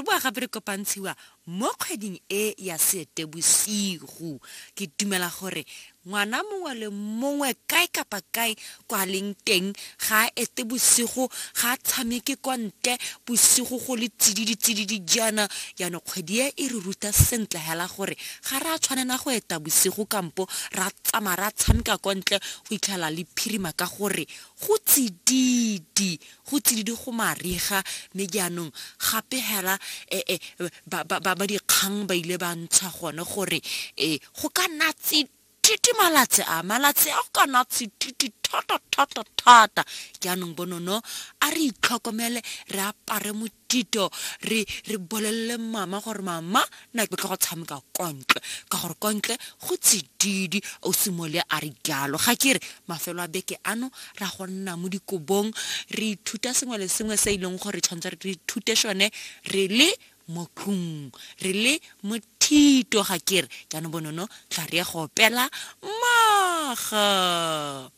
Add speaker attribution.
Speaker 1: Re boa gape re kopantshiwa mo kgweding e ya Seetebosigo. Ke dumela gore ngwana mongwe le mongwe kae kapa kae kwa leng teng ga a ete bosigo, ga a tshameke kwa ntle bosigo go le tsididi tsididi jaana. Jaanong kgwedi e e re ruta sentle hela gore ga re a tshwanela go eta bosigo kampo ra tsamaya ra tshameka kwa ntle go itlhela le phirima ka gore go tsididi, go tsididi go mariga. Mme jaanong gape hela e ba ba ba dikgang ba ile ba ntsha gone gore go ka nna tsididi malatsi a, malatsi a go ka nna tsididi thata thata thata. Jaanong bonono a re itlhokomele, re apare motito, re re bolelele mama gore mama nna ke tlo go tshameka kwa ntle ka gore kwa ntle go tsididi. O simole a re jalo ga ke re mafelo a beke ano ra go nna mo dikobong re ithuta sengwe le sengwe se e leng gore tshwanetse re ithute sone re le mo tlung, re le mothito ga ke re. Jaanong bonono tla re ye go opela mmogo.